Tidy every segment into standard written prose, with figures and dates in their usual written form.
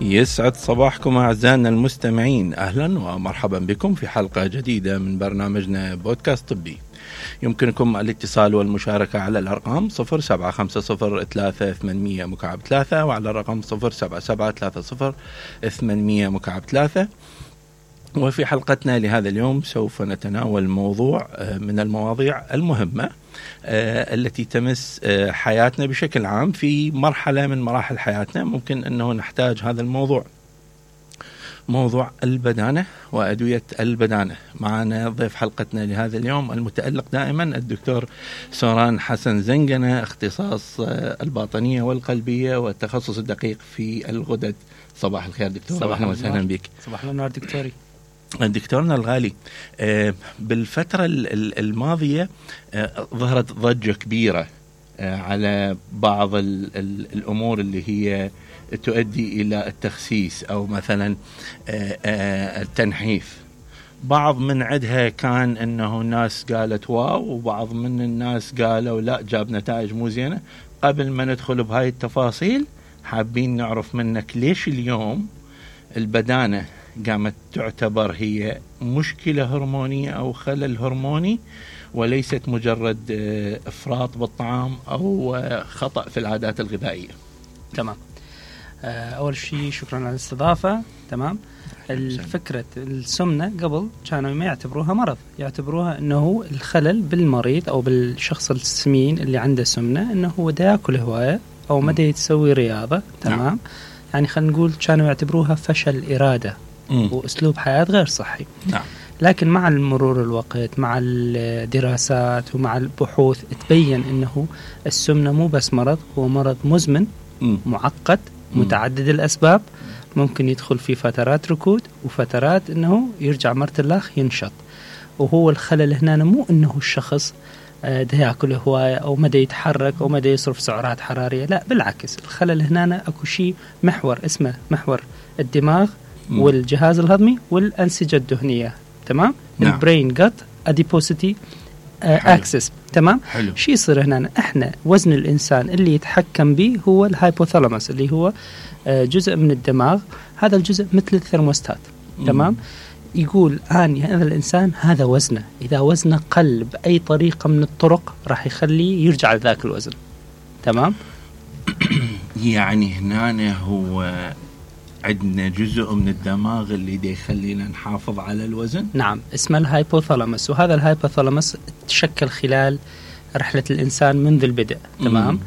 يسعد صباحكم أعزائنا المستمعين، أهلا ومرحبا بكم في حلقة جديدة من برنامجنا بودكاست طبي. يمكنكم الاتصال والمشاركة على الأرقام 07503800-3 وعلى الرقم 07730-800-3. وفي حلقتنا لهذا اليوم سوف نتناول موضوع من المواضيع المهمة التي تمس حياتنا بشكل عام. في مرحلة من مراحل حياتنا ممكن أنه نحتاج هذا الموضوع، موضوع البدانة وأدوية البدانة. معنا ضيف حلقتنا لهذا اليوم المتألق دائما الدكتور سوران حسن زنجنة، اختصاص الباطنية والقلبية والتخصص الدقيق في الغدد. صباح الخير دكتور. صباح وسهلا بك. صباح النور دكتوري. دكتورنا الغالي، بالفترة الماضية ظهرت ضجة كبيرة على بعض الأمور اللي هي تؤدي إلى التخسيس أو مثلا التنحيف. بعض من عدها كان أنه الناس قالت واو، وبعض من الناس قالوا لا جاب نتائج مو زينة. قبل ما ندخل بهاي التفاصيل حابين نعرف منك ليش اليوم البدانة قامت تعتبر هي مشكلة هرمونية أو خلل هرموني وليست مجرد إفراط بالطعام أو خطأ في العادات الغذائية. تمام. أول شيء شكرا على الاستضافة. تمام. الفكرة السمنة قبل كانوا ما يعتبروها مرض، يعتبروها أنه الخلل بالمريض أو بالشخص السمين اللي عنده سمنة، أنه هو دا يأكل هواية أو ما دا يتسوي رياضة. تمام. نعم. يعني خلينا نقول كانوا يعتبروها فشل إرادة وأسلوب حياة غير صحي. نعم. لكن مع المرور الوقت، مع الدراسات ومع البحوث، تبين أنه السمنة مو بس مرض، هو مرض مزمن معقد متعدد الأسباب، ممكن يدخل في فترات ركود وفترات أنه يرجع مرة الأخ ينشط. وهو الخلل هنا مو أنه الشخص ده يأكل هواية أو مدى يتحرك أو مدى يصرف سعرات حرارية، لا بالعكس. الخلل هنا أكو شيء محور اسمه محور الدماغ والجهاز الهضمي والأنسجة الدهنية. تمام. نعم. البرين جت أديبوسيتي أكسس. تمام. شيء يصير هنا، احنا وزن الإنسان اللي يتحكم به هو الهايبوثالاموس اللي هو جزء من الدماغ. هذا الجزء مثل الثرموستات. تمام. يقول هذا الإنسان هذا وزنه، إذا وزنه قل بأي طريقة من الطرق راح يخليه يرجع لذاك الوزن. تمام. يعني هنا هو عندنا جزء من الدماغ اللي دي يخلينا نحافظ على الوزن. نعم، اسمه الهايبوثالاموس. وهذا الهايبوثالاموس تشكل خلال رحلة الإنسان منذ البدء. تمام.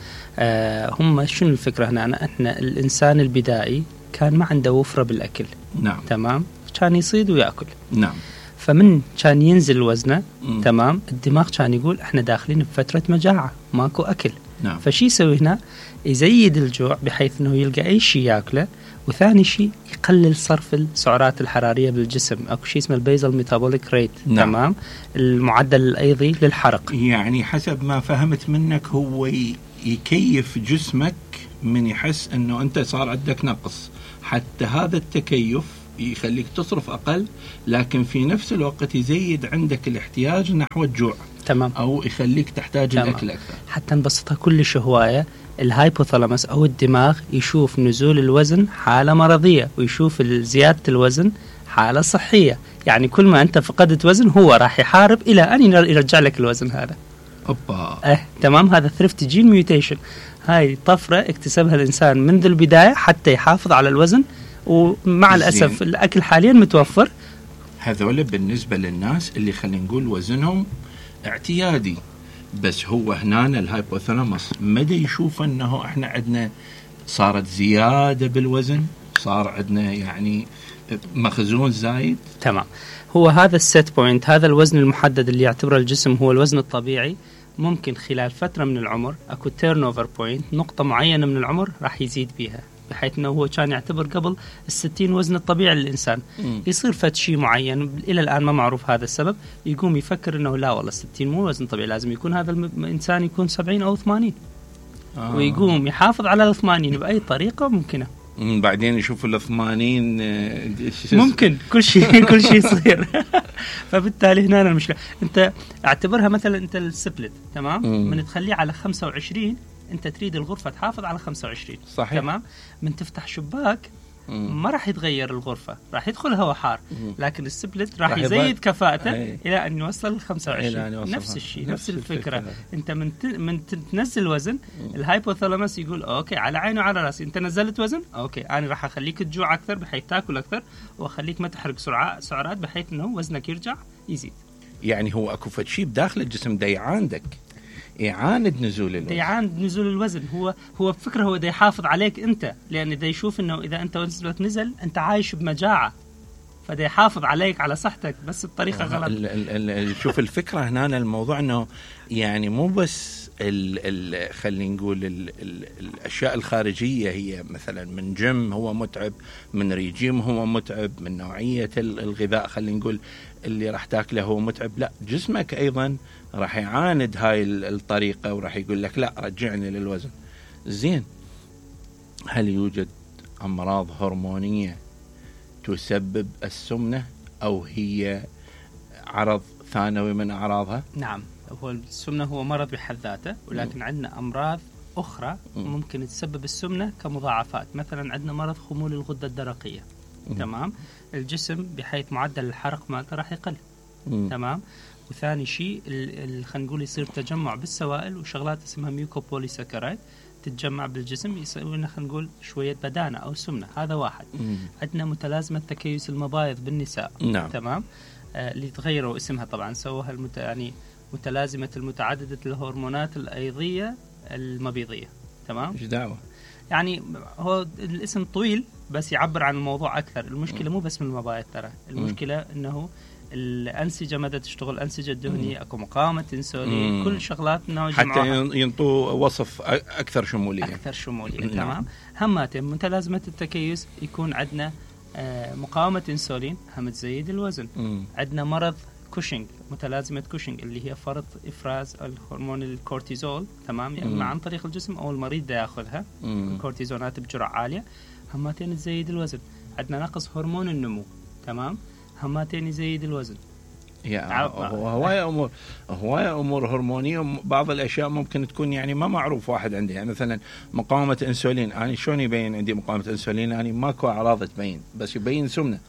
هم شنو الفكرة هنا؟ احنا الإنسان البدائي كان ما عنده وفرة بالأكل. نعم. تمام. كان يصيد ويأكل. نعم. فمن كان ينزل وزنه تمام، الدماغ كان يقول احنا داخلين بفترة مجاعة ماكو أكل. نعم. فشي يسوي هنا؟ يزيد الجوع بحيث انه يلقى اي شيء ياكله. وثاني شيء يقلل صرف السعرات الحرارية بالجسم، اكو شيء اسمه البيزل ميتابوليك ريت. نعم. تمام. المعدل الأيضي للحرق. يعني حسب ما فهمت منك هو يكيف جسمك من يحس انه انت صار عندك نقص، حتى هذا التكيف يخليك تصرف أقل، لكن في نفس الوقت يزيد عندك الاحتياج نحو الجوع. تمام. أو يخليك تحتاج تمام. الأكل أكثر. حتى نبسطها كلش هواية، الهايبوثالاموس أو الدماغ يشوف نزول الوزن حالة مرضية ويشوف زيادة الوزن حالة صحية. يعني كل ما أنت فقدت وزن هو راح يحارب إلى أن يرجع لك الوزن هذا. أوبا. تمام. هذا ثريفت جين ميوتيشن، هاي طفرة اكتسبها الإنسان منذ البداية حتى يحافظ على الوزن. ومع الأسف الأكل حاليا متوفر. هذول بالنسبة للناس اللي خلينا نقول وزنهم اعتيادي، بس هو هنا الهايبوثالاموس مدى يشوف أنه إحنا عندنا صارت زيادة بالوزن، صار عندنا يعني مخزون زايد. تمام. هو هذا السيت بوينت، هذا الوزن المحدد اللي يعتبره الجسم هو الوزن الطبيعي. ممكن خلال فترة من العمر أكو تيرن أوفر بوينت، نقطة معينة من العمر راح يزيد بيها، بحيث أنه هو كان يعتبر قبل 60 وزن الطبيعي للإنسان. يصير فد شيء معين إلى الآن ما معروف هذا السبب، يقوم يفكر أنه لا والله 60 مو وزن طبيعي، لازم يكون هذا الإنسان يكون 70 أو 80. ويقوم يحافظ على 80 بأي طريقة ممكنة. بعدين يشوفوا الثمانين ممكن كل شيء يصير. فبالتالي هنا المشكلة. انت اعتبرها مثلا انت السبلت تمام من تخليه على 25 انت تريد الغرفة تحافظ على 25 صحيح. تمام. من تفتح شباك ما راح يتغير الغرفة، راح يدخل هواء حار، لكن السبلت راح يزيد كفاءته إلى أن يوصل ل 25. نفس الشيء، نفس الفكرة. أنت من تنزل وزن الهايبوثالاموس يقول أوكي على عيني وعلى رأسي، أنت نزلت وزن أوكي أنا راح أخليك تجوع أكثر بحيث تأكل أكثر، وأخليك ما تحرق سعرات بحيث أنه وزنك يرجع يزيد. يعني هو أكو شيء بداخل الجسم دا يعاندك، يعاند نزول الوزن، يعاند نزول الوزن. هو بفكرة هو دا يحافظ عليك أنت، لأن دا يشوف إنه إذا أنت وزنك نزل أنت عايش بمجاعة، فدا يحافظ عليك على صحتك بس بطريقة غلط. شوف الفكرة هنا الموضوع إنه يعني مو بس خلينا نقول الأشياء الخارجية، هي مثلا من جيم هو متعب، من ريجيم هو متعب، من نوعية الغذاء خلينا نقول اللي راح تاكله هو متعب، لا جسمك أيضا راح يعاند هاي الطريقة وراح يقول لك لا رجعني للوزن. زين، هل يوجد أمراض هرمونية تسبب السمنة أو هي عرض ثانوي من أعراضها؟ نعم، هو السمنة هو مرض بحد ذاته، ولكن عندنا أمراض أخرى ممكن تسبب السمنة كمضاعفات. مثلا عندنا مرض خمول الغدة الدرقية. تمام، الجسم بحيث معدل الحرق مالته راح يقل. تمام، وثاني شيء خلينا نقول يصير تجمع بالسوائل وشغلات اسمها ميوكوبوليساكرايد تتجمع بالجسم، يسوي لنا خلينا نقول شوية بدانة أو سمنة. هذا واحد. عندنا متلازمة تكيس المبايض بالنساء. نعم. تمام، اللي تغيروا اسمها طبعا، سووها يعني متلازمة المتعددة الهرمونات الأيضية المبيضية. تمام، ايش دعوة؟ يعني هو الاسم طويل بس يعبر عن الموضوع أكثر. المشكلة مو بس من المبايض، ترى المشكلة إنه الأنسجة مدى تشتغل، الأنسجة الدهنية، أكو مقاومة إنسولين، كل شغلات إنه حتى ينطوا وصف أكثر شمولية. تمام. هماتين متلازمة التكيس يكون عندنا مقاومة إنسولين هم تزيد الوزن. عندنا مرض كوشنج، متلازمة كوشنج اللي هي فرط إفراز الهرمون الكورتيزول. تمام، يعني عن طريق الجسم أو المريض دا يأخذها الكورتيزونات بجرعة عالية، هماتين تزيد الوزن. عندنا نقص هرمون النمو. تمام، هماتين يزيد الوزن. هواية أمور هرمونية. بعض الأشياء ممكن تكون يعني ما معروف واحد عنده، يعني مثلا مقاومة إنسولين، أنا شلون يبين عندي مقاومة إنسولين؟ يعني ماكو أعراض تبين، بس يبين سمنة.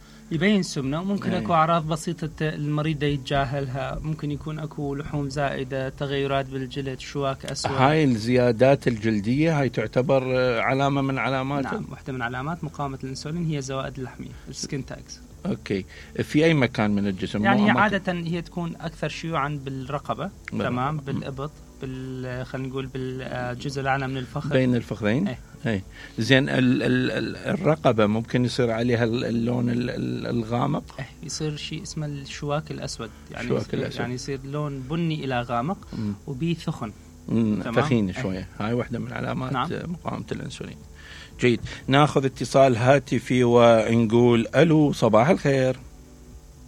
وممكن أكو أعراض بسيطة المريض يتجاهلها، ممكن يكون أكو لحوم زائدة، تغيرات بالجلد، شواك أسود. هاي الزيادات الجلدية هاي تعتبر علامة من علامات؟ نعم، واحدة من علامات مقاومة الإنسولين هي زوائد اللحمية، السكين تاكس. أوكي، في أي مكان من الجسم؟ يعني عادة هي تكون أكثر شيوعا بالرقبة. تمام، بالإبط، خلينا نقول بالجزء الأعلى من الفخذ، بين الفخذين. اي زين، الرقبة ممكن يصير عليها اللون الغامق. يصير شيء اسمه الشواك الأسود، يعني يصير لون بني إلى غامق وبيه ثخن. ثخين شوية. هاي واحدة من علامات مقاومة الأنسولين. جيد، ناخذ اتصال هاتفي ونقول ألو، صباح الخير.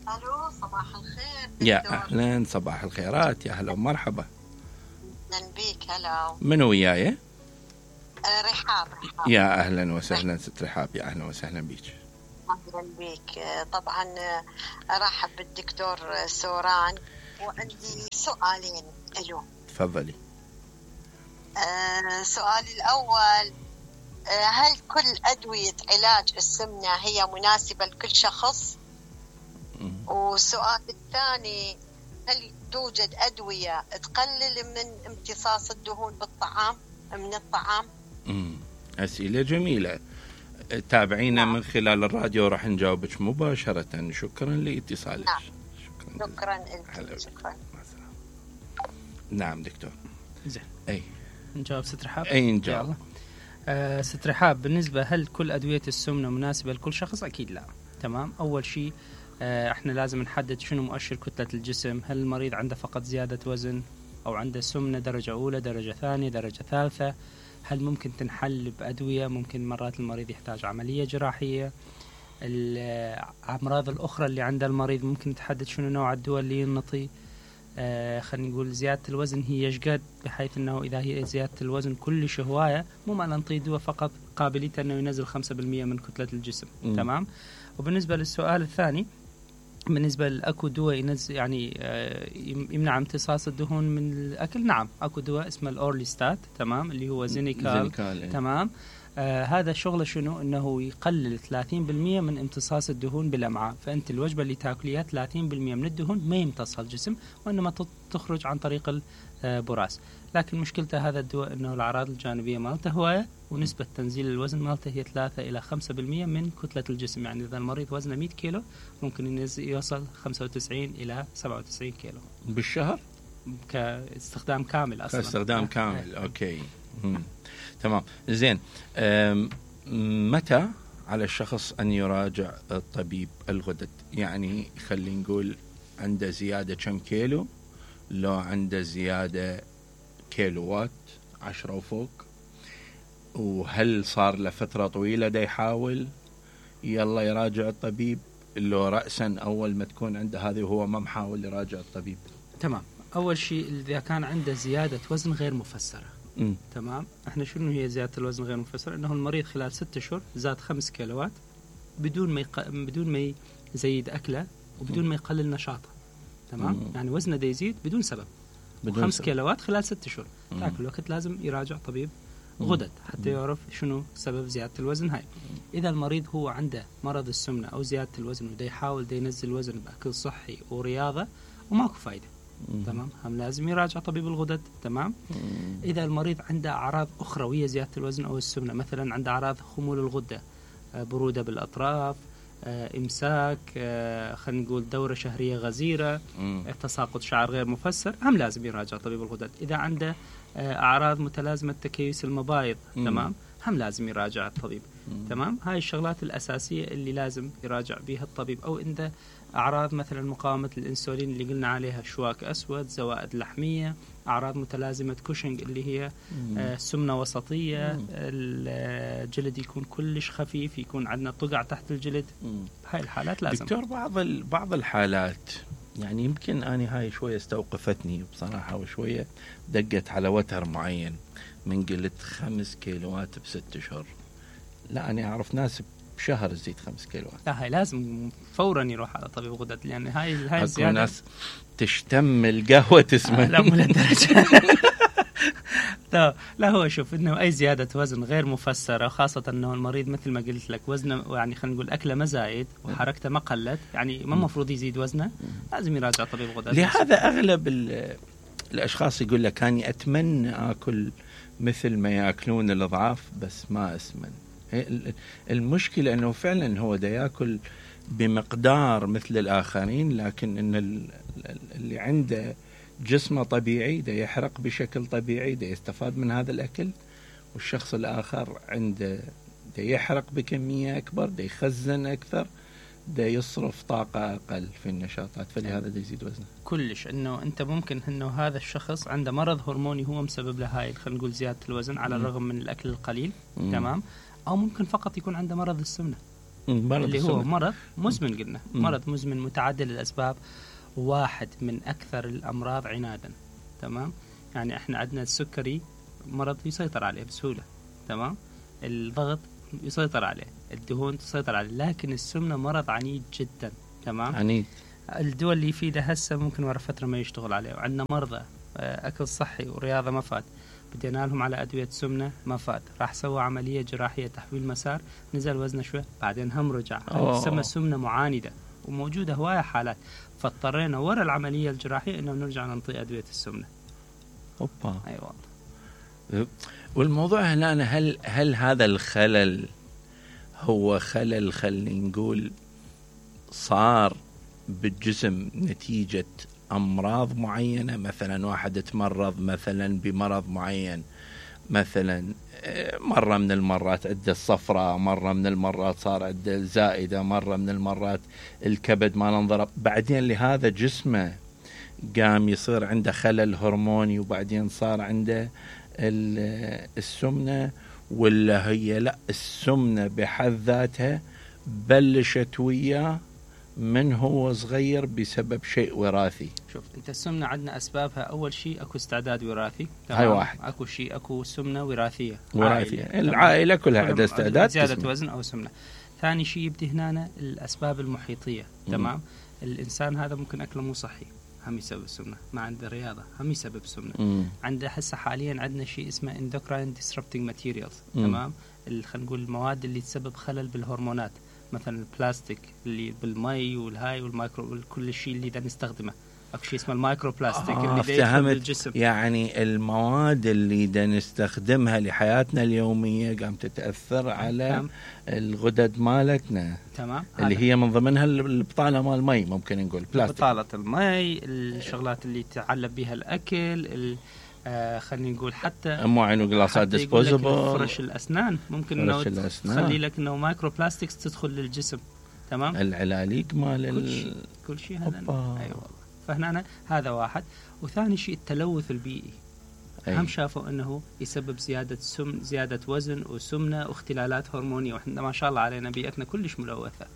ألو، صباح الخير. يا أهلا، صباح الخيرات، يا هلا ومرحبا. أهلا بيك. هلا، منو وياي؟ رحاب. يا أهلا وسهلا ست رحاب، يا أهلا وسهلا بيك. أهلا بيك. طبعا أرحب بالدكتور سوران، وعندي سؤالين له. تفضلي. سؤالي الأول، هل كل أدوية علاج السمنة هي مناسبة لكل شخص؟ والسؤال الثاني، هل توجد أدوية تقلل من امتصاص الدهون من الطعام؟ أسئلة جميلة. تابعينا من خلال الراديو، راح نجاوبك مباشرة. شكرا لاتصالك. شكرا لك. شكرا. نعم دكتور. زين، أي نجاوب ست رحاب؟ أي نجاوب. ست رحاب، بالنسبة هل كل أدوية السمنة مناسبة لكل شخص؟ أكيد لا. تمام، أول شيء احنا لازم نحدد شنو مؤشر كتلة الجسم. هل المريض عنده فقط زيادة وزن أو عنده سمنة درجة أولى، درجة ثانية، درجة ثالثة؟ هل ممكن تنحل بأدوية؟ ممكن مرات المريض يحتاج عملية جراحية. الأمراض الأخرى اللي عند المريض ممكن تحدد شنو نوع الدواء اللي ينطي. خلينا نقول زيادة الوزن هي يشقد، بحيث أنه إذا هي زيادة الوزن كلش هواية، مو ما ننطي دواء فقط قابليته أنه ينزل 5% من كتلة الجسم. تمام. وبالنسبة للسؤال الثاني، بالنسبة لأكو دواء ينزل يعني يمنع امتصاص الدهون من الأكل، نعم أكو دواء اسمه الأورليستات. تمام، اللي هو زينيكال. تمام، هذا شغله شنو؟ انه يقلل 30% من امتصاص الدهون بالامعاء. فانت الوجبه اللي تاكليها 30% من الدهون ما يمتصها الجسم، وانما تخرج عن طريق البراز. لكن مشكلته هذا الدواء انه الاعراض الجانبيه مالته هوايه، ونسبه تنزيل الوزن مالته هي 3 الى 5% من كتله الجسم. يعني اذا المريض وزنه 100 كيلو ممكن يوصل 95 الى 97 كيلو بالشهر كاستخدام كامل اصلا. كاستخدام كامل. اوكي. تمام. زين. متى على الشخص ان يراجع الطبيب الغدد؟ يعني خلينا نقول عنده زياده كم كيلو، لو عنده زياده كيلوات 10 وفوق، وهل صار له فتره طويله دا يحاول يلا يراجع الطبيب، لو رأسا اول ما تكون عنده هذه وهو ما محاول يراجع الطبيب؟ تمام. اول شيء اذا كان عنده زياده وزن غير مفسره. تمام. احنا شنو هي زياده الوزن غير مفسره؟ انه المريض خلال 6 شهور زاد 5 كيلوات بدون ما يزيد اكله وبدون ما يقلل نشاطه. تمام. يعني وزنه دا يزيد بدون سبب، 5 كيلوات خلال 6 شهور. ذاك الوقت لازم يراجع طبيب غدد حتى يعرف شنو سبب زياده الوزن هاي. اذا المريض هو عنده مرض السمنه او زياده الوزن ودا يحاول دا ينزل الوزن باكل صحي ورياضه وماكو فايده، تمام، هم لازم يراجع طبيب الغدد. تمام. اذا المريض عنده اعراض اخرى وهي زياده الوزن او السمنه، مثلا عنده اعراض خمول الغده، بروده بالاطراف، امساك، خلينا نقول دوره شهريه غزيره، تساقط شعر غير مفسر، هم لازم يراجع طبيب الغدد. اذا عنده اعراض متلازمه تكيس المبايض، تمام، هم لازم يراجع الطبيب. تمام. هاي الشغلات الاساسيه اللي لازم يراجع بها الطبيب. او عنده اعراض مثلا مقاومه الانسولين اللي قلنا عليها، شواك اسود، زوائد لحميه، اعراض متلازمه كوشنج اللي هي سمنه وسطيه، الجلد يكون كلش خفيف، يكون عندنا طقع تحت الجلد. هاي الحالات لازم. دكتور، بعض الحالات يعني يمكن أنا هاي شوية استوقفتني بصراحة، وشوية دقت على وتر معين من قلت 5 كيلوات ب6 شهور. لا، أنا أعرف ناس بشهر تزيد 5 كيلوات. لا، هاي لازم فورا يروح على طبيب غدد، لأن هاي الزيادة ناس تشتم القهوة تسمن. لا، مو للدرجة. لا، هو شوف انه اي زياده وزن غير مفسره، خاصه انه المريض مثل ما قلت لك وزنه يعني خلينا نقول اكله ما زايد وحركته ما قلت، يعني ما المفروض يزيد وزنه، لازم يراجع طبيب غدد. لهذا اغلب الاشخاص يقول لك اني اتمنى اكل مثل ما ياكلون الاضعاف بس ما اسمن. المشكله انه فعلا هو دا ياكل بمقدار مثل الاخرين، لكن ان اللي عنده جسمه طبيعي دا يحرق بشكل طبيعي، دا يستفاد من هذا الأكل، والشخص الآخر عنده دا يحرق بكمية أكبر، دا يخزن أكثر، دا يصرف طاقة أقل في النشاطات، فلهذا دا يزيد وزنه. كلش انه انت ممكن انه هذا الشخص عنده مرض هرموني هو مسبب له هاي خلينا نقول زيادة الوزن على الرغم من الأكل القليل. تمام. أو ممكن فقط يكون عنده مرض السمنة اللي هو مرض مزمن. قلنا مرض مزمن متعدد الأسباب، واحد من أكثر الأمراض عنادا. تمام. يعني احنا عندنا السكري مرض يسيطر عليه بسهولة. تمام. الضغط يسيطر عليه، الدهون تسيطر عليه، لكن السمنة مرض عنيد جدا. تمام. عنيد. الدول اللي يفيده هسه ممكن ورا فترة ما يشتغل عليه. وعندنا مرضى أكل صحي ورياضة ما فات، بدينا لهم على أدوية سمنة ما فات، راح سوى عملية جراحية تحويل مسار، نزل وزنه شوي بعدين هم رجع. تسمى سمنة معاندة، وموجودة هواية حالات، فاضطرينا ورا العملية الجراحية إنه نرجع ننطي أدوية السمنة. أوبا. أيوة. والموضوع هنا هل هذا الخلل هو خلل خلينا نقول صار بالجسم نتيجة أمراض معينة؟ مثلا واحد تمرض مثلا بمرض معين، مثلا مرة من المرات عنده الصفرة، مرة من المرات صار عنده الزائدة، مرة من المرات الكبد ما انضرب، بعدين لهذا جسمه قام يصير عنده خلل هرموني، وبعدين صار عنده السمنة، ولا هي لا السمنة بحد ذاتها بلشت وياه من هو صغير بسبب شيء وراثي؟ شوف انت السمنة عندنا اسبابها، اول شيء اكو استعداد وراثي. هاي واحد. اكو سمنة وراثية. العائلة كلها عندها استعداد زيادة وزن او سمنة. ثاني شيء يبدي هنا الاسباب المحيطية. تمام. الانسان هذا ممكن اكله مو صحي، هم يسبب السمنة، ما عنده رياضة، هم يسبب السمنة. عنده هسه حاليا عندنا شيء اسمه endocrine disrupting materials. تمام. خلينا نقول المواد اللي تسبب خلل بالهرمونات، مثلا البلاستيك اللي بالمي والهاي والمايكرو كل شيء اللي دا نستخدمه، اكو شيء اسمه المايكرو بلاستيك اللي دا يدخل بالجسم. يعني المواد اللي دا نستخدمها لحياتنا اليوميه قام تتاثر على الغدد مالتنا. تمام. اللي هي من ضمنها البطاله مال المي، ممكن نقول بلاستيك، بطاله المي، الشغلات اللي تعلب بها الاكل، خلينا نقول حتى مواعين وقلاصات ديسبوزبل، فرش الاسنان ممكن انه تخلي لك انه مايكرو بلاستكس تدخل للجسم. تمام. العلاليق مال كل شيء هذا. ايوه. فهنا هذا واحد. وثاني شيء التلوث البيئي. هم شافوا انه يسبب زياده وزن وسمنه واختلالات هرمونيه، واحنا ما شاء الله علينا بيئتنا كلش ملوثه،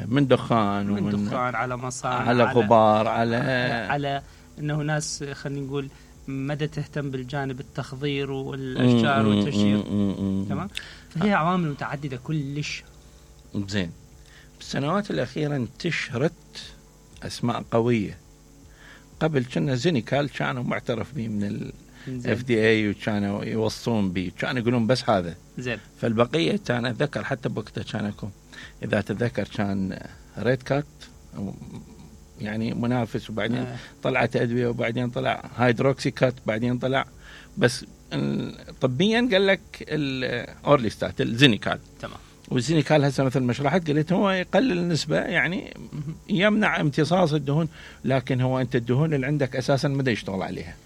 من دخان على مصانع، على غبار، على انه ناس خلينا نقول مدى تهتم بالجانب التخضير والاشجار والتشجير. تمام. فهي عوامل متعدده كلش. زين. بالسنوات الاخيره انتشرت اسماء قويه. قبل كنا زينيكال كانوا معترف به من FDA وكانوا يوصون به، كانوا يقولون بس هذا. زين. فالبقيه كان اتذكر حتى بوقتها كانكم اذا تتذكر كان ريد كات يعني منافس، وبعدين طلعت ادويه، وبعدين طلع هيدروكسي كات، بعدين طلع بس طبيا قال لك الاورليستات الزينيكال. تمام. والزينيكال هسه مثل ما شرحت قلت هو يقلل النسبه، يعني يمنع امتصاص الدهون، لكن هو انت الدهون اللي عندك اساسا ما يشتغل عليها.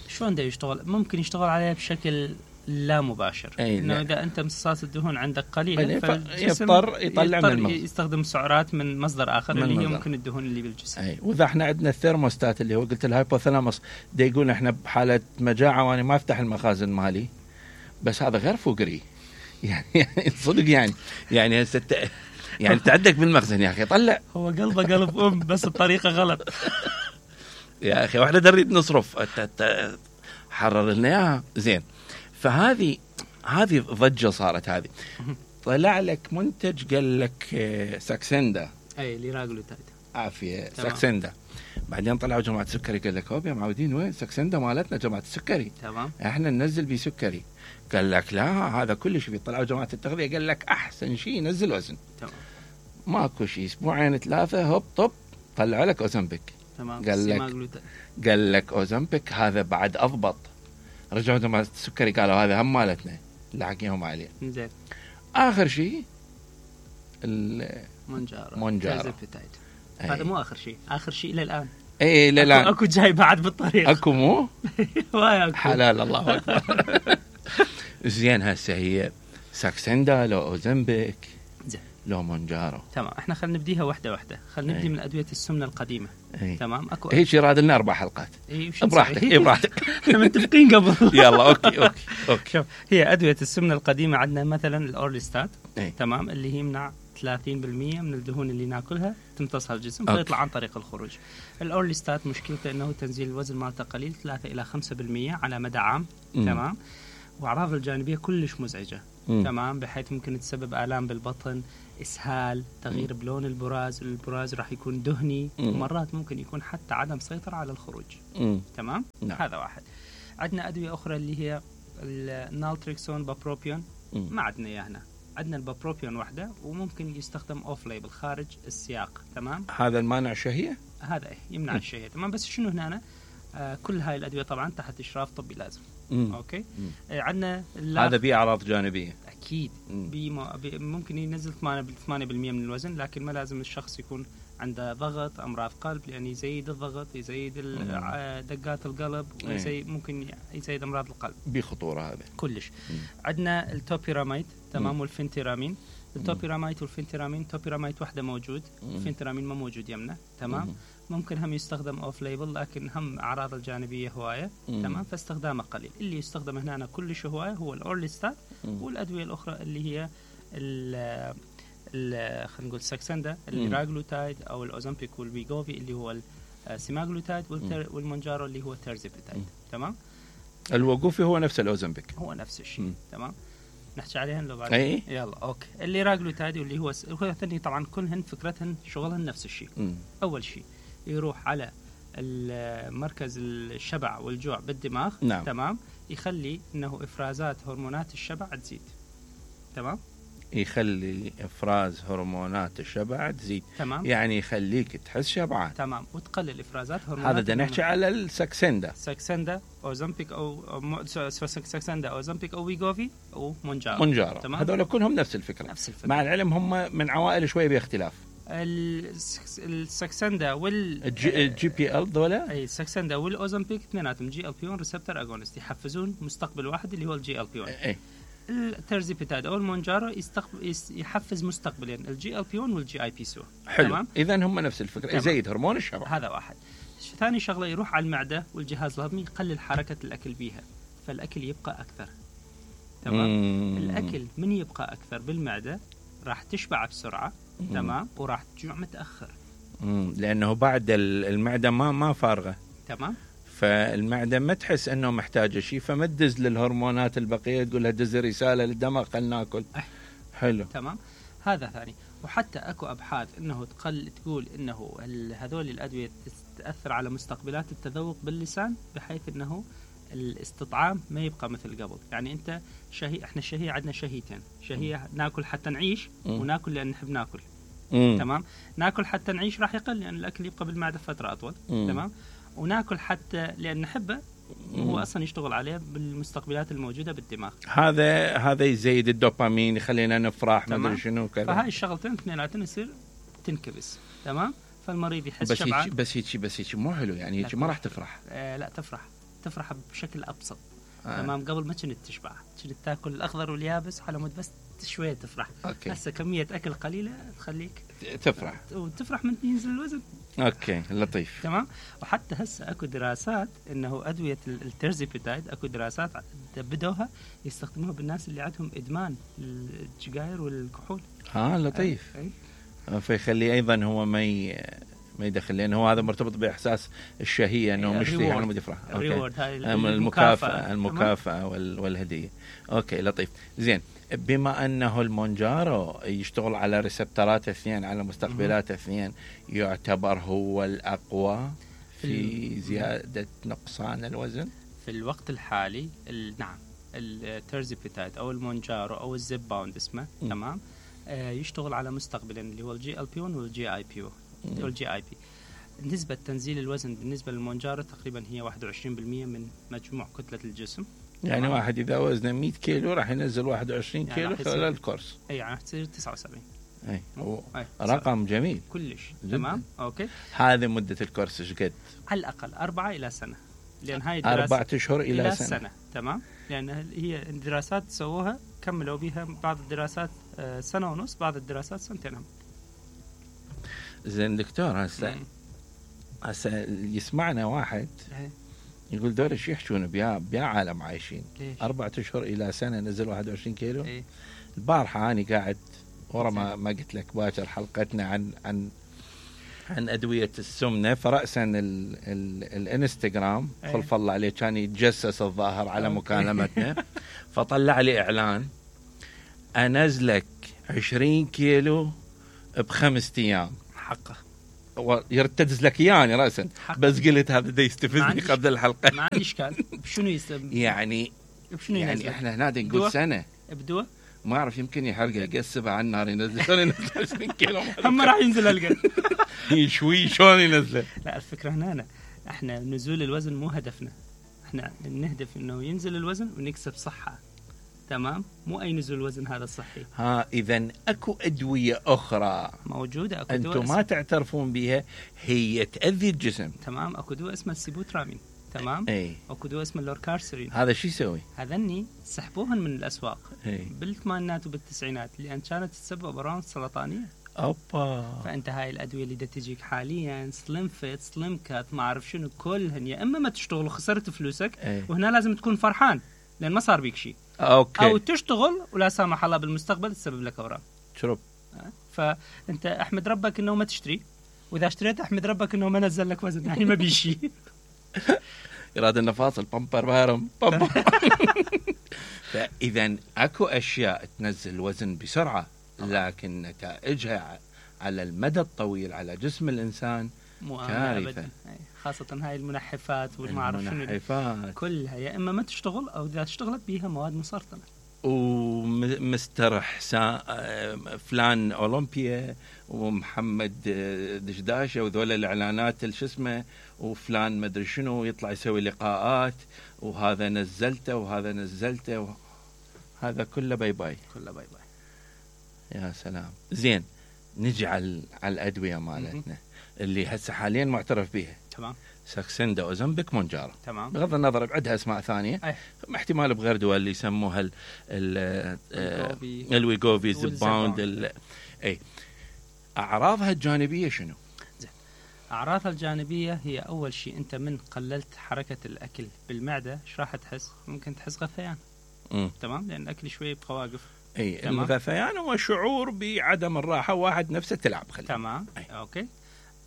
شلون ده يشتغل؟ ممكن يشتغل عليها بشكل لا مباشر. انه اذا انت امتصاص الدهون عندك قليل يضطر يطلع من المخ، يستخدم سعرات من مصدر اخر اللي هي ممكن الدهون اللي بالجسم. واذا احنا عندنا الثيرموستات اللي هو قلت الهايبوثالاموس ده يقول احنا بحاله مجاعه وانا ما افتح المخازن مالي، بس هذا غير فقري يعني صدق يعني يعني تعدك بالمخزن يا اخي طلع. هو قلبه قلب بس الطريقه غلط يا اخي، واحنا نريد نصرف حرر لنا اياها. زين. فهذه ضجه صارت. هذه طلع لك منتج قال لك ساكسندا، اي ليراغلوتايد، عافيه ساكسندا. بعدين طلعوا جماعه السكري قال لك هوب يا معودين وين ساكسندا مالتنا جماعه السكري، تمام احنا ننزل بيه سكري. قال لك لا هذا كلش فيه. طلعوا جماعه التغذيه قال لك احسن شيء ينزل وزن. تمام. ماكو شيء، اسبوعين ثلاثه هوب طب طلعوا لك اوزمبيك. تمام. قال لك اوزمبيك هذا بعد اضبط. رجعوا جماعه السكري قالوا هذا هم مالتنا اللي حكيهم عليه. زين. اخر شيء مونجارو. هذا مو اخر شيء، اخر شيء الى الان. اي لا لا اكو جاي بعد بالطريق. اكو مو أكو. حلال الله اكبر. زين. هسه هي ساكسندا لو اوزمبيك لو مونجارو. تمام. احنا خلينا نبديها واحده خلينا نبدي من ادويه السمنه القديمه. تمام. اكو هيك يراد لنا 4 حلقات. براحتك براحتك. احنا متفقين قبل. يلا اوكي. شوف، هي ادويه السمنه القديمه عندنا مثلا الاورليستات. تمام. اللي هي يمنع 30% من الدهون اللي ناكلها تمتصها الجسم فيطلع عن طريق الخروج. الاورليستات مشكلته انه تنزيل الوزن مالته قليل 3 الى 5% على مدى عام. تمام. واعراض الجانبيه كلش مزعجه. تمام. بحيث ممكن تسبب آلام بالبطن، اسهال، تغيير بلون البراز راح يكون دهني، ومرات ممكن يكون حتى عدم سيطره على الخروج. تمام. هذا واحد. عندنا ادويه اخرى اللي هي النالتريكسون، بابروبيون، ما عندنا اياه هنا. عندنا البابروبيون وحده، وممكن يستخدم اوف ليبل خارج السياق. تمام. هذا المانع الشهيه، هذا يمنع الشهيه. تمام. بس شنو هنا كل هاي الادويه طبعا تحت اشراف طبي لازم. اوكي. عندنا هذا بيه اعراض جانبيه اكيد. ممكن ينزل 8% من الوزن، لكن ما لازم الشخص يكون عنده ضغط، امراض قلب، لان يزيد الضغط، يزيد دقات القلب، ممكن يزيد امراض القلب. بخطوره هذا كلش. عندنا التوبيراميد. تمام. والفنتيرامين. التوبيراميد والفنتيرامين، توبيراميد وحده موجود، الفنتيرامين ما موجود يمنا. تمام. ممكن هم يستخدم اوف ليبل، لكن هم اعراض الجانبيه هوايه. تمام. فاستخدامه قليل. اللي يستخدم هنا كلش هوايه هو الاورليستات والادويه الاخرى اللي هي خلينا نقول ساكسندا، الليراغلوتايد او الاوزمبيك والبيغوفي اللي هو السيماغلوتايد، والمونجارو اللي هو التيرزيبيتايد. تمام. الوقوفي هو نفس الاوزمبيك، هو نفس الشيء. تمام. نحكي عليهن لو بعد. يلا اوكي. الليراغلوتايد واللي هو الثاني طبعا كلهن فكرتهن شغلهن نفس الشيء. اول شيء يروح على مركز الشبع والجوع بالدماغ. نعم. تمام. يخلي انه افرازات هرمونات الشبع تزيد. تمام، يخلي افراز هرمونات الشبع تزيد. تمام، يعني يخليك تحس شبعان. تمام، وتقلل افرازات هرمونات. هذا بدنا نحكي على الساكسندا. ساكسندا، اوزمبيك ساكسندا، اوزمبيك او ويغوفي او مونجارو. هذول كلهم نفس الفكره. مع العلم هم من عوائل شويه باختلاف. الساكسندا الجي بي ال دولا، اي الساكسندا والاوزمبيك اثنيناتهم جي ال بي 1 ريسبتور اجونست، يحفزون مستقبل واحد اللي هو الجي ال بي 1. اي الترزيبيتاد او المونجارو يحفز مستقبلين الجي ال بي 1 والجي اي بي سو. حلو، اذا هم نفس الفكره، يزيد هرمون الشبع. هذا واحد. ثاني شغله يروح على المعده والجهاز الهضمي، يقلل حركه الاكل بيها، فالاكل يبقى اكثر. تمام. الاكل من يبقى اكثر بالمعده راح تشبع بسرعه. تمام، وراح تجوع متاخر. لانه بعد المعده ما فارغه. تمام، فالمعده ما تحس انه محتاجه شيء، فما تدز للهرمونات البقيه، تقول لها دز رساله للدماغ خلينا ناكل. حلو، تمام. هذا ثاني. وحتى اكو ابحاث انه تقول انه هذول الادويه تاثر على مستقبلات التذوق باللسان، بحيث انه الاستطعام ما يبقى مثل قبل. يعني انت احنا الشهيه عندنا شهيتين، شهيه ناكل حتى نعيش، وناكل لان نحب ناكل. تمام، ناكل حتى نعيش راح يقل لان الاكل يبقى بالمعده فتره اطول. تمام، وناكل حتى لان نحبه، هو اصلا يشتغل عليه بالمستقبلات الموجوده بالدماغ. هذا يزيد الدوبامين، يخلينا نفرح، ما ادري شنو كذا. فهاي الشغلتين اثنيناتهم يصير تنكبس. تمام، فالمريض يحس شبعان. بس هيك مو حلو، يعني هيك ما راح تفرح. لا تفرح بشكل ابسط. تمام، قبل ما كنت تشبع، كنت تاكل الاخضر واليابس على مود بس شويه تفرح. هسه كميه اكل قليله تخليك تفرح، وتفرح من ينزل الوزن. اوكي، لطيف. تمام. وحتى هسه اكو دراسات انه ادويه الترزيبيتايد، اكو دراسات بدوها يستخدموها بالناس اللي عندهم ادمان السجاير والكحول. لطيف. فيخلي ايضا هو ما يدخل، لأنه هو هذا مرتبط بإحساس الشهية، أنه مشتهي أنه يفرح. المكافأة والهدية. أوكي، لطيف. زين، بما أنه المونجارو يشتغل على ريسبترات اثنين، على مستقبلات اثنين، يعتبر هو الأقوى في زيادة نقصان الوزن في الوقت الحالي. نعم، الترزيبيتايد أو المونجارو أو الزيب باوند اسمه. تمام، يشتغل على مستقبلين اللي هو الجي ال بي 1 والجي اي بي والجي اي بي. نسبة تنزيل الوزن بالنسبة للمونجارو تقريبا هي 21% من مجموع كتلة الجسم. يعني واحد إذا وزنه 100 كيلو راح ينزل 21 كيلو خلال الكورس. يعني تصير 79. رقم جميل كلش. تمام، اوكي. هذه مدة الكورس ايش قد؟ على الأقل 4 إلى سنة، لأن هاي 4 أشهر إلى سنة. تمام، لأن هي الدراسات سووها كملوا بها، بعض الدراسات 1.5 سنة، بعض الدراسات 2 سنين. زين دكتور، هسه يسمعنا واحد يقول دول ايش يحشون بيا عالم عايشين 4 أشهر إلى سنة نزل 21 كيلو. البارحة أنا قاعد ورا ما قلت لك باكر حلقتنا عن أدوية السمنة، فرأسا الانستغرام خلف الله عليه كان يتجسس الظاهر على مكالمتنا، فطلع لي إعلان أنزلك 20 كيلو ب5 أيام. حقه يرتدز لك يعني رأسا، بس قلت هذا دا يستفزني قبل الحلقة. ما عندي إشكال. بشنو يعني إحنا هنا نقول سنة بدوه ما أعرف، يمكن يحرق يقسبها على النار ينزل. شلون ينزل 20 كيلو؟ هم راح ينزل هالقد. شوي شلون ينزل؟ لا، الفكرة هنا احنا نزول الوزن مو هدفنا، احنا نهدف انه ينزل الوزن ونكسب صحة. تمام، مو اي نزول وزن هذا صحي. اذا اكو ادوية اخرى موجودة، اكو انتم ما تعترفون بها، هي تأذي الجسم. تمام، اكو دواء اسمه السيبوترامين. تمام، اكو دواء اسمه اللوركارسرين. هذا شو يسوي؟ هذني سحبوهن من الاسواق بالثمانينات وبالتسعينات، لان كانت تسبب امراض سرطانيه. فانت هاي الادويه اللي تجيك حاليا سليم فيت، سليم كات، ما اعرف شنو، كلهن يا اما ما تشتغل وخسرت فلوسك، وهنا لازم تكون فرحان لان ما صار بيك شيء، او تشتغل ولا سامح الله بالمستقبل تسبب لك اورام. شرب. فانت احمد ربك انه ما تشتري، واذا اشتريت احمد ربك انه ما نزل لك وزن، يعني ما بيشي. إرادة النفاصل بامبر بارم بامبر. فإذا أكو أشياء تنزل الوزن بسرعة، لكن نتائجها على المدى الطويل على جسم الإنسان كارثة. خاصة هاي المنحفات والمعرف شنو كلها، يا إما ما تشتغل أو إذا اشتغلت بيها مواد مسرطنة. ومستر فلان أولمبيا ومحمد دشداشة وذول الإعلانات شو اسمه، وفلان مدري شنو يطلع يسوي لقاءات، وهذا نزلته وهذا نزلته هذا كله باي باي، كله باي باي. يا سلام. زين، نجي على الأدوية مالتنا اللي هسه حاليا معترف بها. تمام. ساكسندا، اوزمبيك، مونجارو. تمام. بغض النظر بعدها اسماء ثانيه، احتمال بغير دول اللي يسموها الويغوفي، زباوند، اي. اعراضها الجانبيه شنو؟ اعراضها الجانبيه هي اول شيء انت من قللت حركه الاكل بالمعده ايش راح تحس؟ ممكن تحس غثيان. تمام، لان الاكل شوي يبقى واقف. اي، الغثيان هو شعور بعدم الراحه، واحد نفسه تلعب خلي. تمام. اوكي.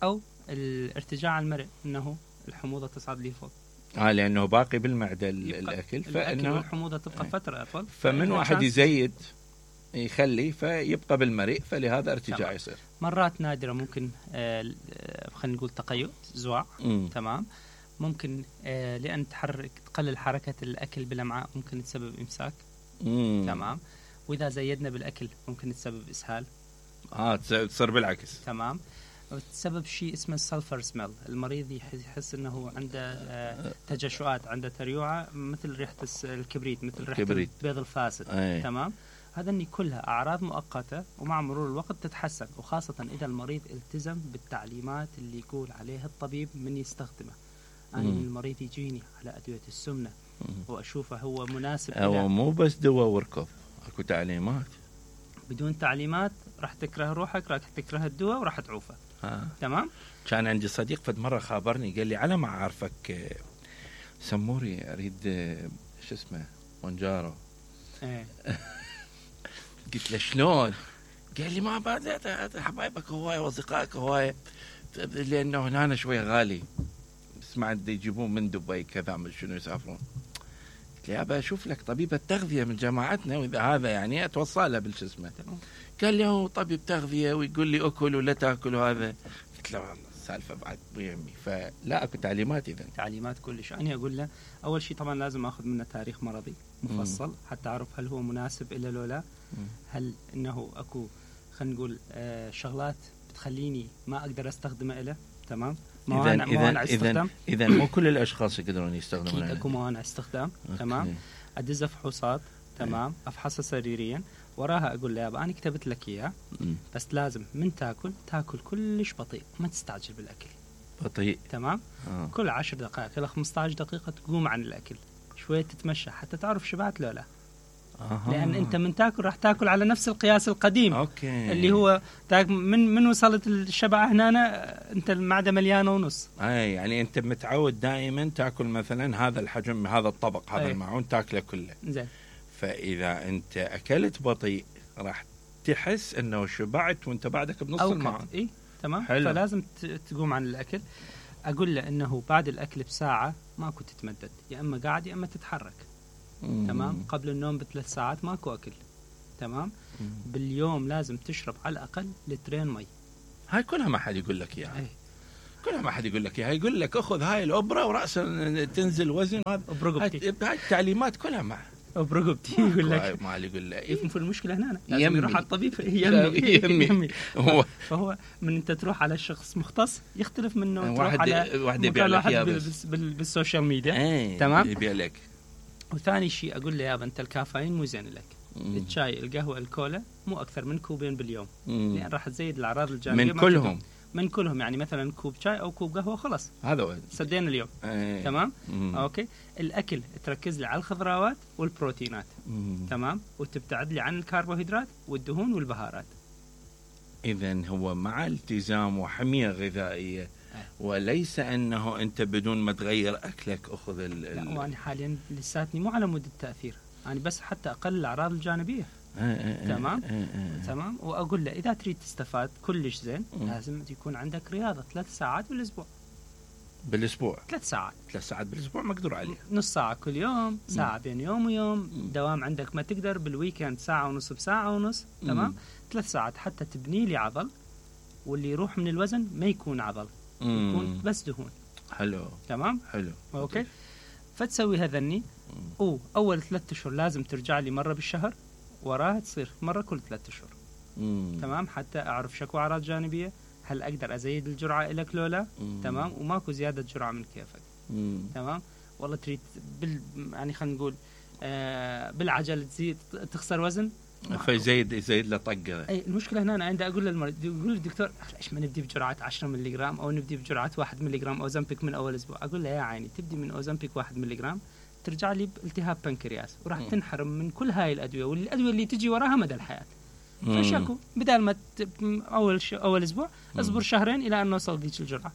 او الارتجاع المرئ، انه الحموضه تصعد لي فوق، لانه باقي بالمعده الاكل، فانه الحموضه تبقى فتره اطول، فمن واحد يزيد يخلي فيبقى بالمريء، فلهذا ارتجاع يصير. مرات نادره ممكن خلينا نقول تقيؤ، زواع. تمام. ممكن لان تقلل حركه الاكل بالامعاء ممكن تسبب امساك. تمام. واذا زيدنا بالاكل ممكن تسبب اسهال. تصير بالعكس. تمام. وتسبب شيء اسمه السلفر سميل، المريض يحس انه عنده تجشؤات، عنده تريوعه مثل ريحه الكبريت، مثل ريحه البيض الفاسد. تمام. هذني كلها اعراض مؤقته، ومع مرور الوقت تتحسن، وخاصه اذا المريض التزم بالتعليمات اللي يقول عليها الطبيب من يستخدمه. انا من المريض يجيني على ادويه السمنه واشوفه هو مناسب، هو مو بس دواء وركض، اكو تعليمات. بدون تعليمات راح تكره روحك، راح تكره الدواء وراح تعوفه. تمام. كان عندي صديق فد مرة خابرني، قال لي على ما أعرفك سموري أريد شو اسمه مونجارو. قلت له شلون؟ قال لي ما بعد حبايبك هواية وأصدقائك هواية، لأنه هنا شوي غالي، سمعت يجيبون من دبي كذا من شنو يسافرون. قلت له يابا أشوف لك طبيبة تغذية من جماعتنا، وإذا هذا يعني أتوصلها بالجسمة. قال لي هو طبيب تغذية ويقول لي أكل ولا تأكل، وهذا قلت له والله السالفة بعد بيمي، فلا أكو تعليمات. إذا تعليمات كلش، أنا أقول له أول شيء طبعا لازم أخذ منه تاريخ مرضي مفصل حتى أعرف هل هو مناسب إلا لو لا، هل إنه أكو خلينا نقول شغلات بتخليني ما أقدر أستخدمه إله. تمام. موانع استخدام. إذا مو كل الأشخاص يقدرون يستخدمونه. أكو موانع استخدام. تمام. أدز فحوصات. تمام. أفحصها سريريا، وراها أقول له يابا أنا كتبت لك إياه، بس لازم من تاكل كلش بطيء، ما تستعجل بالأكل. بطيء. تمام. كل 10 دقائق إلى 15 دقيقة تقوم عن الأكل، شوية تتمشى حتى تعرف شبعت لو لا. لأن أنت من تاكل راح تاكل على نفس القياس القديم. اللي هو من وصلت الشبع هنا أنت المعدة مليانة ونص. يعني أنت متعود دائما تاكل مثلا هذا الحجم، هذا الطبق، هذا المعون تاكله كله. زين. فإذا أنت أكلت بطيء راح تحس أنه شبعت وأنت بعدك بنص المعون. تمام. حلو. فلازم تقوم عن الأكل. أقول له أنه بعد الأكل بساعة ماكو تتمدد، يا أما قاعد يا أما تتحرك. تمام. قبل النوم ب3 ساعات ماكو أكل. تمام. باليوم لازم تشرب على الأقل 2 مي. هاي كلها ما حد يقول لك إياها. كلها ما حد يقول لك إياها، يقول لك أخذ هاي الأوبرا ورأسا تنزل وزن، هاي التعليمات كلها مع برقبتي. يقول لك ما يقول له في المشكلة هنا لازم يروح على الطبيب. يمي. فهو من أنت تروح على شخص مختص يختلف منه تروح على واحد بالسوشيال ميديا. تمام. يبيع لك. وثاني شيء أقول له يابا أنت الكافيين مو زين لك، الشاي القهوة الكولا مو أكثر من 2 كوب باليوم، لأن راح تزيد الأعراض الجانبية من كلهم. يعني مثلا كوب شاي أو كوب قهوة خلاص هذا هو سدينا اليوم. تمام. أوكي. الأكل تركز لي على الخضروات والبروتينات. تمام. وتبتعد لي عن الكربوهيدرات والدهون والبهارات. إذن هو مع التزام وحمية غذائية، وليس أنه أنت بدون ما تغير أكلك أخذ لا، وأنا حاليا لساتني مو على مود التأثير، أنا بس حتى أقل الأعراض الجانبية. تمام. تمام. وأقول له إذا تريد تستفاد كلش زين لازم يكون عندك رياضة 3 ساعات بالأسبوع. 3 ساعات. 3 ساعات بالأسبوع مقدور عليه. نص ساعة كل يوم، ساعة بين يوم ويوم. دوام عندك ما تقدر بالويكند ساعة ونص بساعة ونص. تمام. 3 ساعات حتى تبني لي عضل، واللي يروح من الوزن ما يكون عضل، يكون بس دهون. حلو. تمام. حلو. أوكي. فتسوي هذني أول 3 أشهر لازم ترجع لي مرة بالشهر، وراها تصير مرة كل 3 أشهر. تمام، حتى أعرف شكو أعراض جانبية، هل أقدر أزيد الجرعة إلك لولا. تمام، وماكو زيادة جرعة من كيفك. تمام، والله تريد يعني خلينا نقول بالعجل تزيد تخسر وزن، فيزيد له طقه. اي المشكله هنا انا عندي اقول للمريض، يقول الدكتور ليش ما نبدي بجرعات 10 ملغ او نبدي بجرعات 1 ملغ اوزمبيك من اول اسبوع؟ اقول له يا عيني تبدي من اوزمبيك 1 ملغ ترجع لي بالتهاب بنكرياس وراح تنحرم من كل هاي الادويه، والادويه اللي تجي وراها مدى الحياه. فشكو بدال ما اول اسبوع اصبر شهرين الى ان نوصل ذيك الجرعه.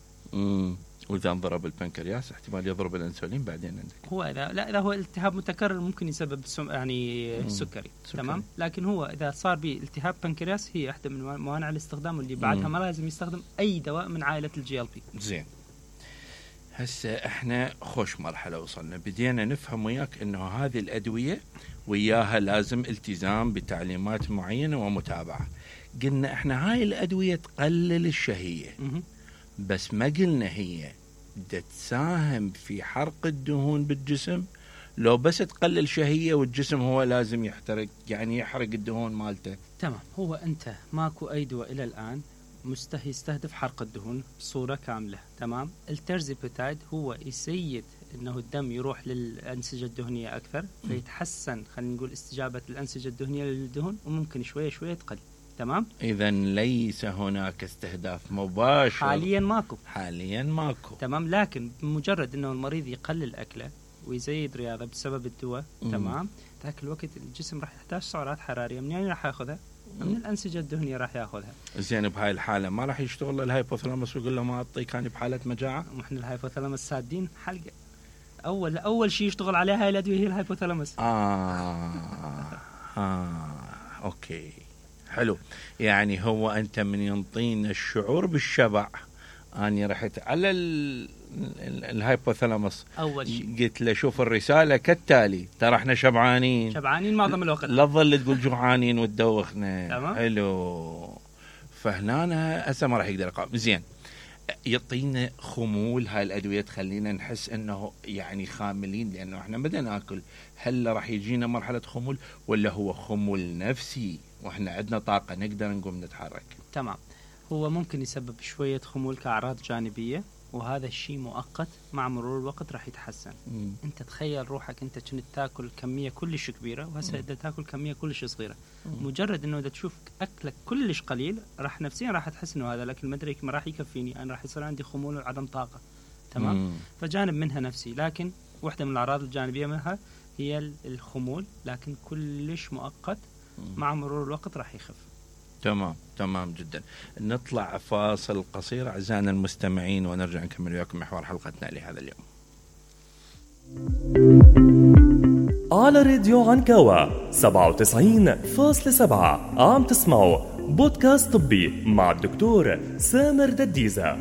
واذا انضرب البنكرياس احتمال يضرب الانسولين بعدين عندك. هو اذا هو التهاب متكرر ممكن يسبب يعني السكري. تمام، لكن هو اذا صار به التهاب بنكرياس هي احدى من موانع الاستخدام، واللي بعدها ما لازم يستخدم اي دواء من عائله الجي ال بي. زين، هسه احنا خوش مرحله وصلنا، بدينا نفهم وياك انه هذه الادويه وياها لازم التزام بتعليمات معينه ومتابعه. قلنا احنا هاي الادويه تقلل الشهيه، بس ما قلنا هي تساهم في حرق الدهون بالجسم، لو بس تقلل شهية والجسم هو لازم يحترق، يعني يحرق الدهون مالته. تمام، هو أنت ماكو أي دواء إلى الآن يستهدف حرق الدهون بصورة كاملة. تمام، الترزيبيتايد هو يسيد أنه الدم يروح للأنسجة الدهنية أكثر، فيتحسن خلينا نقول استجابة الأنسجة الدهنية للدهون، وممكن شوية شوية تقل. تمام، إذا ليس هناك استهداف مباشر حاليا ماكو. تمام، لكن بمجرد انه المريض يقلل اكله ويزيد رياضه بسبب الدواء، تمام، ذاك الوقت الجسم راح يحتاج سعرات حراريه. منين راح ياخذها؟ من الانسجه الدهنيه راح ياخذها. زين، بهاي الحاله ما راح يشتغل الهايبوثالاموس ويقول له ما اعطيك كان بحاله مجاعه؟ واحنا الهايبوثالاموس سادين حلقه. اول شيء يشتغل عليها هاي الادويه هي الهايبوثالاموس. اوكي، حلو. يعني هو أنت من ينطينا الشعور بالشبع، أنا رحت على الهايبوثالاموس أول شيء قلت له شوف الرسالة كالتالي، ترى احنا شبعانين معظم الوقت، لا تظل تقول جوعانين وتدوخنا. حلو، فهنا هسه ما راح يقدر يقاوم. زين، يعطينا خمول هاي الأدوية تخلينا نحس أنه يعني خاملين لأنه احنا بدنا ناكل، هل راح يجينا مرحلة خمول ولا هو خمول نفسي واحنا عندنا طاقة نقدر نقوم نتحرك؟ تمام، هو ممكن يسبب شوية خمول كأعراض جانبية، وهذا الشيء مؤقت، مع مرور الوقت راح يتحسن. انت تخيل روحك انت كنت تاكل كمية كلش كبيرة وهسه بدك تاكل كمية كلش صغيرة. مجرد انه اذا تشوف اكلك كلش قليل راح نفسيا راح تحس انه هذا الاكل ما ادري ما راح يكفيني، انا راح يصير عندي خمول وعدم طاقة. تمام، فجانب منها نفسي، لكن واحدة من الأعراض الجانبية منها هي الخمول، لكن كلش مؤقت، مع مرور الوقت راح يخف. تمام جدا. نطلع فاصل قصير أعزائنا المستمعين ونرجع نكمل وياكم محور حلقتنا لهذا اليوم. على راديو عنكاوة 97.7 عم تسمعوا بودكاست طبي مع الدكتور سامر دديزة.